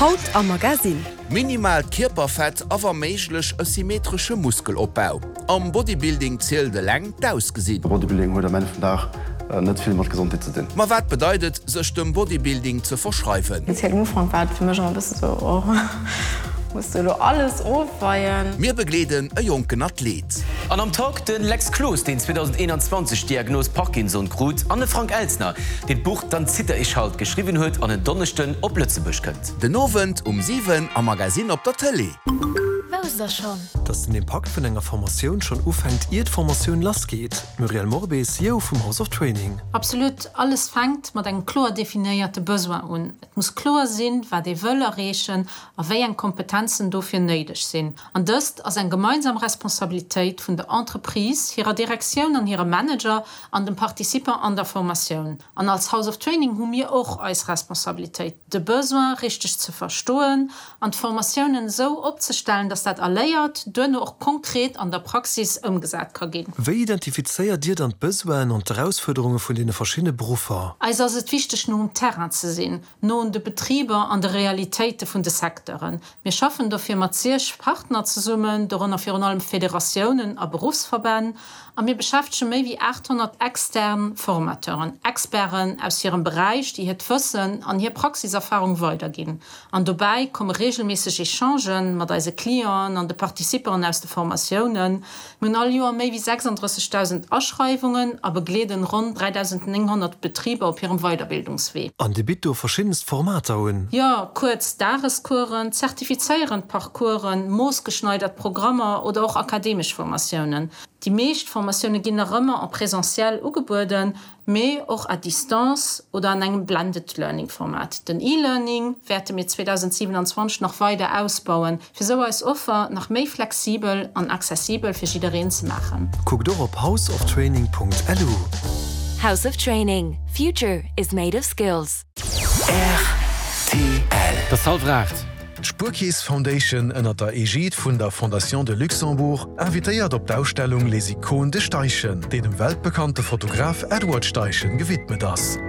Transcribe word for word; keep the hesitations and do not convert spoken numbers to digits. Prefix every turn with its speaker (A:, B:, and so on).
A: Haut am Magazin.
B: Minimaalt Kierperfett a wa méiglech e symmetresche Muskelopbau. Am Bodybuilding zielt eleng d'Ausgesinn.
C: Bodybuilding huet am Enn vum Dag net vill mat Gesondheet ze dinn.
B: Ma wat bedeit et, sech dem Bodybuilding ze verschreiwen?
D: Speziell um Ufank war et fir mech ëmmer e bësse sou, oh, muss du elo alles ofweien?
B: Mir begleeden e jonken Athlet.
E: An am Talk de Lex Cloos, deen zweedausendeenanzwanzeg d'Diagnos Parkinson krut, an de Frank Elstner, deen d'Buch Dann zitter ich halt geschriwwen huet an en Donneschden op Lëtzebuerg kënnt.
B: Den Owend um siwen am Magazin op der Tëlee.
F: Wousst der schonn?
G: Dass den Impakt vun enger Formatioun schonn ufänkt, ier d'Formatioun lassgeet. Muriel Morbé, C E O vum House of Training.
H: Absolut, alles fänkt mat engem kloer definéierte Besoin un. Et muss kloer sinn, wat ee wëll erreechen a wéi eng Kompetenzen dofir néideg sinn. An dëst ass eng gemeinsam Responsabilitéit vun der Entreprise, hirer Direktioun an hire Manager an dem Participant an der Formatioun. An als House of Training hu mir och eis Responsabilitéit, de Besoin richteg ze verstoen an d'Formatiounen esou opzestellen, dass dat Erléiert duerno och konkret an der Praxis ëmgesat ka ginn.
G: Wéi identifizéiert Dir dann d'Besoinen an d'Erausfuerderunge vun deene verschiddene Beruffer?
H: Eis ass et wichteg, no um Terrain ze sinn, no un de Betriber an de Realitéite vun de Secteuren. Mir schaffen dofir mat zeg Partner zesummen, dorënner virun allem Federatiounen a Beruffsverbänn, a mir beschäftege méi wéi aathonnert extern Formateuren, Experten aus hirem Beräich, déi hiert Wëssen an hir Praxiserfarung weiderginn. An dobäi komme reegelméisseg Echangen mat eise Clienten an de Participanten aus de Formatiounen. Mir hunn all Joer méi wéi sechsandrëssegdausend Aschreiwungen a begleeden ronn dräidausendnénghonnert Betriber op hirem Weiderbildungswee.
G: An Dir bitt do verschiddenst Formater un?
H: Jo, kuerz Dagescoursen, zertifizéierend Parcoursen, moossgeschneidert Programmer oder och akademesch Formatiounen. Déi meescht Formatioune ginn nach ëmmer en présentiel ugebueden, mee och à distance oder an engem Blended Learning Format. Den E-Learning wäerte mir zweedausendsiewenanzwanzeg nach weider ausbauen, fir sou eis Offer nach méi flexibel an accessibel fir jiddereen ze maachen.
G: Kuckt och op houseoftraining Punkt lu.
F: House of Training. Future is made of skills.
B: R T L.
I: Et ass hallwer aacht.
J: D'Spuerkeess Foundation ënner der Egide vun der Fondation de Luxembourg invitéiert op d'Ausstellung Les Icônes de Steichen, déi dem weltbekannte Fotograf Edward Steichen gewidmet ass.